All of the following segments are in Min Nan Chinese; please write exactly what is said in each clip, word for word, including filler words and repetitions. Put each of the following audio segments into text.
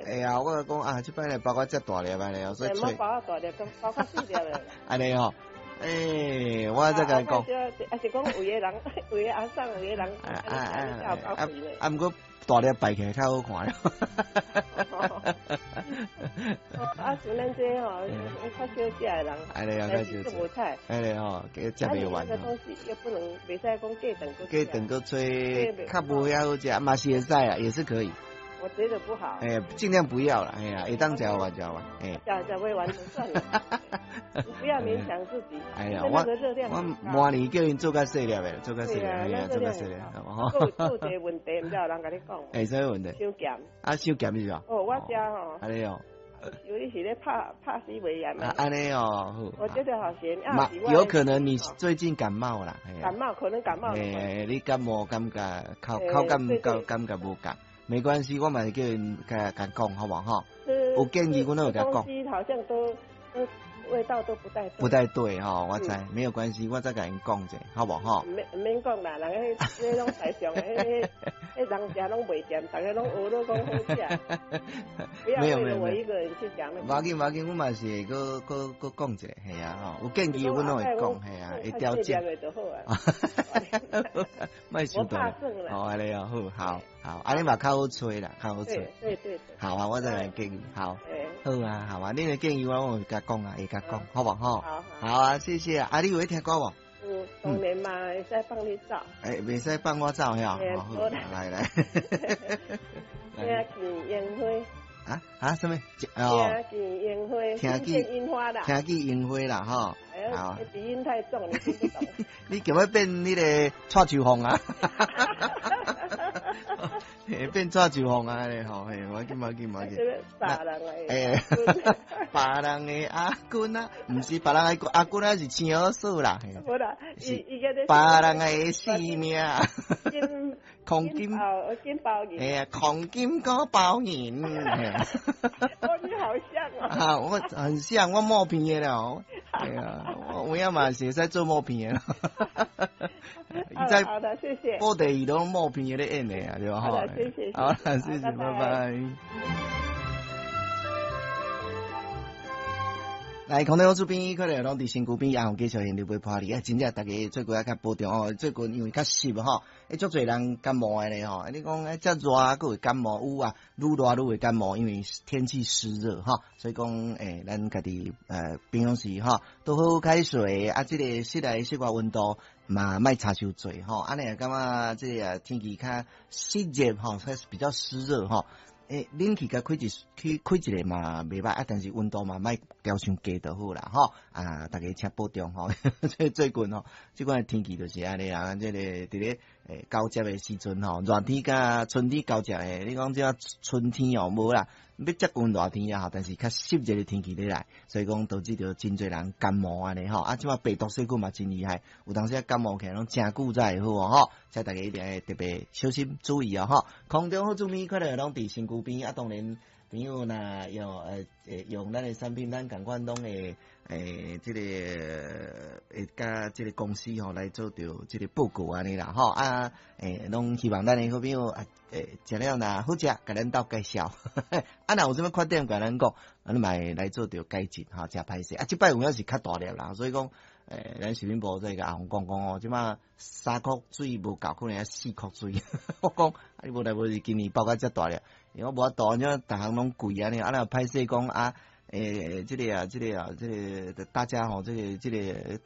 會啊，我講啊，這擺來包括遮大粒按呢，所以揣。包較大粒，包較細粒的。按呢吼，欸，我再共伊講。啊是講有的人，有的阿桑，有的人，啊啊啊啊！啊，毋過大粒擺起來較好看。啊，像咱這吼，較少食的人，按呢較少食。無菜。按呢吼，給食袂完。這個東西又不能袂使講過頓閣。過頓閣炊，較無遐好食，嘛是會使啊，也是可以。我覺得不好。欸，盡量不要啦，哎呀，會當食完食完，欸。食食袂完就算了，不要勉強自己。哎呀，我我明年叫𪜶做較細粒的，做較細粒，哎呀，做較細粒。閣有一個問題，毋知有人共你講。欸，啥物問題？傷鹹。啊，傷鹹是吧？哦，我食吼。按呢哦。有你是咧拍拍死袂鹽啊？按呢哦，我覺得好鹹啊！有可能你最近感冒啦。感冒可能感冒。欸，你感冒感覺口口感感感覺無仝。沒關係，我嘛是叫𪜶共共講，好無吼？有建議，阮攏會共講。東西好像都都味道都不太不太對吼，我知，沒有關係，我再共𪜶講者，好無吼？免免講啦，人彼彼攏台上，彼彼人食攏袂鹹，逐家攏學咧講好食。不要為了我一個人去講。無要緊，無要緊，阮嘛是會閣閣閣講者，係啊吼，有建議阮攏會講，係啊，會調整。莫傷大。哦，按呢哦，好，好，好，按呢嘛較好揣啦，較好揣。對對對。好啊，我再來建議，好。好啊，好啊，你的建議我會共講啊，會共講，好無吼？好。好啊，謝謝啊。啊，你有咧聽歌無？有，當然嘛，會使放你走。欸，袂使放我走遐？好，來來。聽見櫻花。啊啊，啥物？聽見櫻花，聽見櫻花啦。聽見櫻花啦，吼。好。鼻音太重，你聽不懂。你叫欲變彼個蔡秋鳳啊？變蔡秋鳳啊！吼，嘿，無要緊，無要緊，無要緊。別人的。欸，別人的阿君啊，毋是別人的阿君啊，是青兒嫂啦。無啦，伊伊個咧。別人的性命。黃金金包銀。哎呀，黃金閣包銀。哦，你好像哦。啊，我很像，我默片的了。對啊，我有影嘛是會使做默片的。好的，謝謝。布袋戲攏默片的咧演的啊，對吧？好的，謝謝。好，謝謝，拜拜。來，空中這邊可能攏佇身軀邊，也有繼續現場陪伴你。啊，真正大家最近愛較保重哦。最近因為較濕吼，欸，足濟人感冒的咧吼。你講欸，遮熱閣會感冒有啊，愈熱愈會感冒，因為天氣濕熱吼，所以講欸，咱家己呃平常時吼，多喝開水啊，這個室內室外溫度嘛莫差傷濟吼。按呢也感覺這個天氣較濕熱吼，比較濕熱吼。欸，冷氣共開一去開一下嘛袂歹啊，但是溫度嘛莫調傷低就好啦吼。啊，大家請保重吼。這最近吼，這款天氣就是按呢啦，這個佇咧欸交接的時陣吼，熱天佮春天交接的，你講這春天哦無啦，欲接近熱天啊，但是較濕熱的天氣咧來，所以講導致著真濟人感冒按呢吼。啊，這馬病毒細菌嘛真厲害，有當時感冒起來攏誠久才會好哦吼。請大家一定愛特別小心注意哦吼。空中好滋味，快樂攏佇身軀邊啊，當然朋友若用呃用咱的產品，咱仝款攏會欸，這個會佮這個公司吼來做著這個報告按呢啦吼啊，欸，攏希望咱的好朋友啊，欸，食了若好食，共咱鬥介紹。啊，若有啥物缺點，共咱講，啊，你嘛會來做著改進吼，誠歹勢啊，這擺有影是較大粒啦，所以講，欸，咱食品部這個阿紅講講哦，這馬三箍水無夠，可能愛四箍水。我講，啊，你無代無誌今年爆甲遮大粒，因為我無法度，按怎逐項攏貴按呢，啊，若歹勢講啊。欸，這個啊，這個啊，這個大家吼，這個這個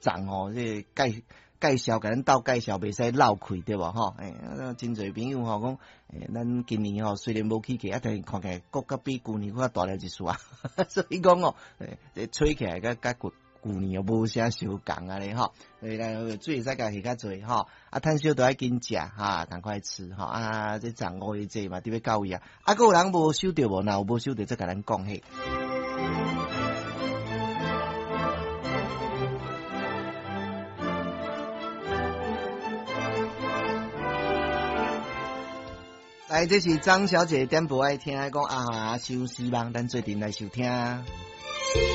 漲吼，這個介介紹，共咱鬥介紹，袂使漏氣對無吼？欸，真濟朋友吼講，欸，咱今年吼雖然無起價，啊，但是看起來閣較比舊年閣較大粒一絲啊，所以講哦，欸，這吹起來佮佮舊舊年又無啥相仝按呢吼，所以咱水會使共下較濟吼，啊，炭燒都愛緊食哈，趕快吃吼，啊，這漲五月這嘛，特別到位啊，啊，閣有人無收著無？若有無收著，再共咱講嘿。來，這是張小姐點播愛聽，講啊，相思夢，咱做陣來收聽。